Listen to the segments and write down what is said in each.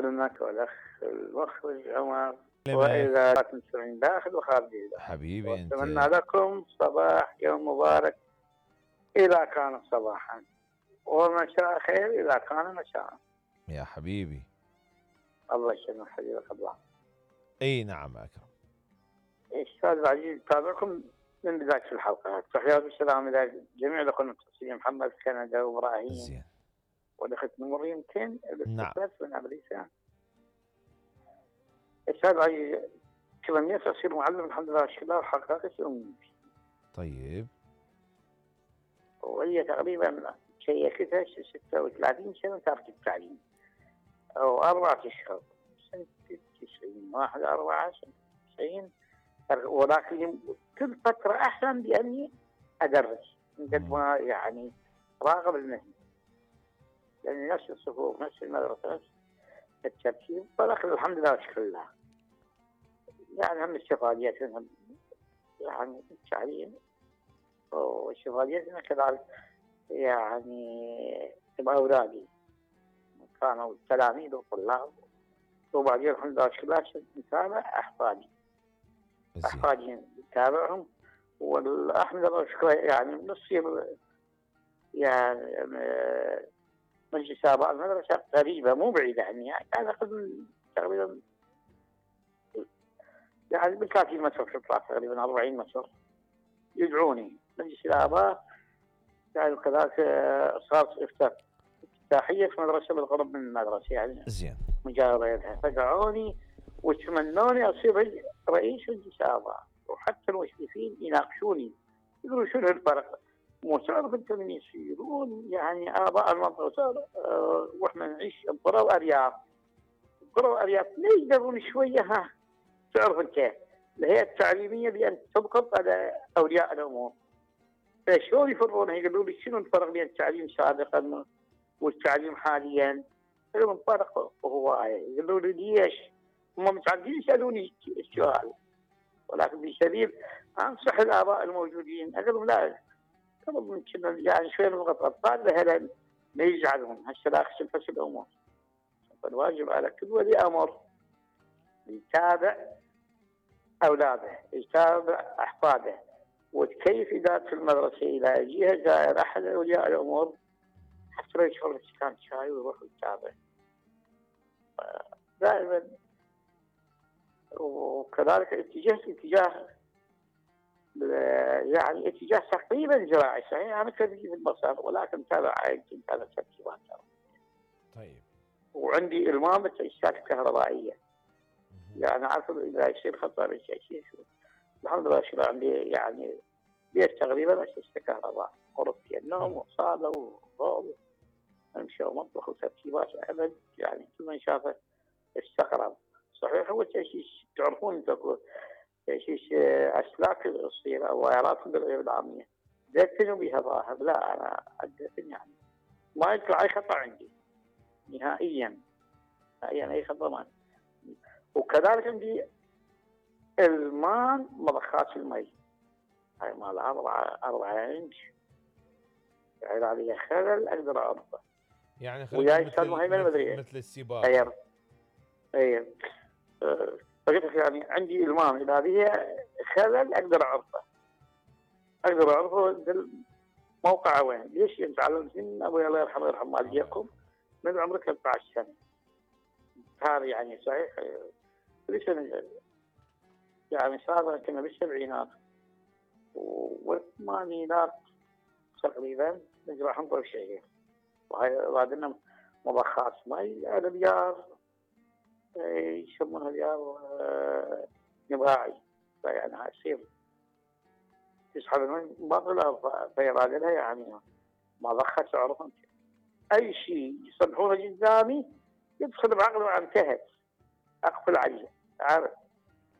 خدمك والأخ المخرج عمر، وإذا تنسمعين داخل وخارج حبيبي أنت. أتمنى لكم صباح يوم مبارك إذا كان صباحا، ومساء خير إذا كان مساء. يا حبيبي الله يسلمك حبيبك الله. اي نعم اكرم. استاذ العزيز تابعكم من بدايه الحلقه، تحيات والسلام الى جميع الاخوه المتصلين، محمد كندا وابراهيم زين والاختنا مريم يمكن نعم من امريكا. استاذ العزيز تمنيت اصير معلم الحمد لله والشكر وحققت امنيتي. طيب وهي تقريبا شيكتها 36 سنه ترك التعليم او 4 اشهر سنه 90 1/4 سنه 90، ولكن كل فتره احسن باني ادرس من قد ما يعني راغب المهنه، يعني نفس الصفوف نفس المدرسه نفس الترتيب، ولكن الحمد لله والشكر لله. يعني هم استفاديات منهم يعني التعليم واستفاديات منها كذلك يعني باولادي كانوا تلاميذ وطلاب، وبعدين الحمد لله والشكر لله نتابع احفادي نتابعهم، والاحمد لله والشكر يعني نصير يعني مجلس اباء المدرسه قريبه مو بعيده عني، يعني كان تقريبا يعني بال 30 متر في الطريق تقريبا 40 متر يدعوني مجلس الاباء. يعني كذلك صارت افتتاحيه في مدرسه بالقرب من المدرسه يعني زين مجاوره لها، فدعوني وتمنوني اصير رئيس مجلس الاباء، وحتى المشرفين يناقشوني يقولوا شنو الفرق، مو تعرف انت من يصيرون يعني اباء المنطقه واحنا نعيش بقرى وارياف، بقرى وارياف لا يقدرون شويه ها تعرف انت الهيئه التعليميه بان تضغط على اولياء الامور، فشلون يفرون يقولوا لي شنو الفرق بين التعليم سابقا والتعليم حاليا؟ يقولون فرق هوايه، يقولوا لي ليش؟ هم متعودين يسالوني السؤال، ولكن بسبيل انصح الاباء الموجودين اقول لهم لا قبل ممكن يعني شويه من الاطفال لهلا ما يزعلون هسه لا خسف الامور، فالواجب على كل ولي امر يتابع اولاده يتابع احفاده، وكيف اداره المدرسه الى يجيها زائر احد اولياء الامور حتى لا يشرب كان شاي ويروح يتابع دائما. وكذلك اتجاه يعني اتجاه تقريبا زراعي صحيح، انا خريج في البصر ولكن تابع عائلتي تابع تركيبات. طيب وعندي المام بالتأسيسات الكهربائيه، يعني عارف اذا يصير خطر يصير شو الحمد لله شو عندي يعني بيت تقريبا اساسه كهرباء، غرفتي النوم وصاله وضوء امشي ومطبخ وتركيبات ابد، يعني كل من شافه استغرب. صحيح هو تأسيس تعرفون انتم تأسيس اسلاك الصغيره او وايرات بالغير العاميه دفنوا بها ظاهر، لا انا ادفن يعني ما يطلع اي خطا عندي نهائيا اي خطا ما. وكذلك عندي المان مضخات المي هاي مال 4 انش يعني عليها خلل اقدر اعرفه، يعني وياي مثل السباق. اي فقلت يعني عندي المام اذا بها خلل اقدر اعرفه موقعه وين. ليش تعلمت من ابوي الله يرحمه ويرحم والديكم من عمرك 13 سنه، هذا يعني صحيح ليش يعني صار كنا بالسبعينات والثمانينات تقريبا نجرح نطلع شيء، وهاي بعدنا مضخات مي البيار يسمونها بيار نباعي، يعني هاي تصير تسحب المي باطلة فيراد لها يعني مضخة تعرف انت اي شيء يصلحونه قدامي يدخل بعقله وانتهت اقفل عليه عارف.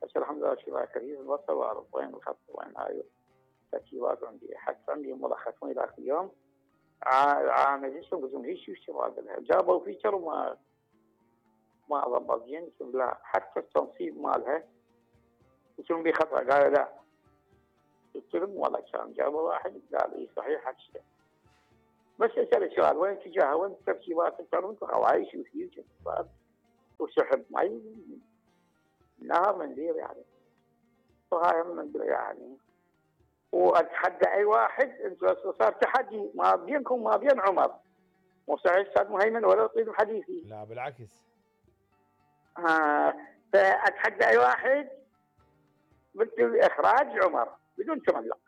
بس الحمد لله شباب كثير البصر واعرف وين الخط وين هاي تركيبات عندي، حتى عندي ملخص من ذاك اليوم عامل اسمه قلت لهم ايش الشباب لها جابوا فيتشر وما ضبط زين، لا حتى التنصيب مالها قلت لهم بخطا قالوا لا، قلت لهم والله كان جابوا واحد قال اي صحيح هالشيء، بس اسال السؤال وين اتجاهها وين التركيبات تعرفون عوايش وفيوتشر وسحب مي نهر مندير يعني. وهاي هم مندير يعني. واتحدى اي واحد، انتم صار تحدي ما بينكم ما بين عمر، مو صحيح استاذ مهيمن ولا يطيل حديثي. لا بالعكس. فاتحدى اي واحد باخراج عمر بدون تملق.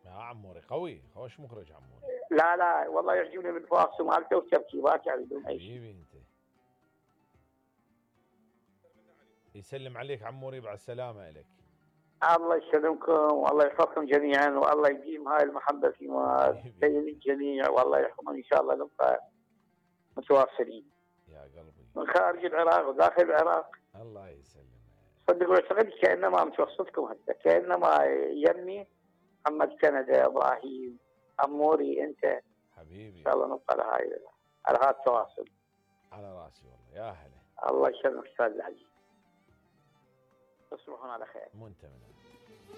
عموري قوي، خوش مخرج عموري. لا والله يعجبني بالفاصل مالته وتركيبات يعني بدون اي شيء. حبيبي انت. يسلم عليك عموري، بعد السلامة الك. الله يسلمكم والله يحفظكم جميعا، والله يديم هاي المحبة فيما بين الجميع، والله يحفظهم ان شاء الله نبقى متواصلين. يا قلبي. من خارج العراق وداخل العراق. الله يسلمك. صدق اعتقد كانما متوسطكم هسه، كانما يمي محمد كندا، ابراهيم، عموري، انت. حبيبي. ان شاء الله نبقى على هذا التواصل. على راسي والله، يا هلا. الله يسلمك استاذ العزيز. تصبحون على خير. وانت من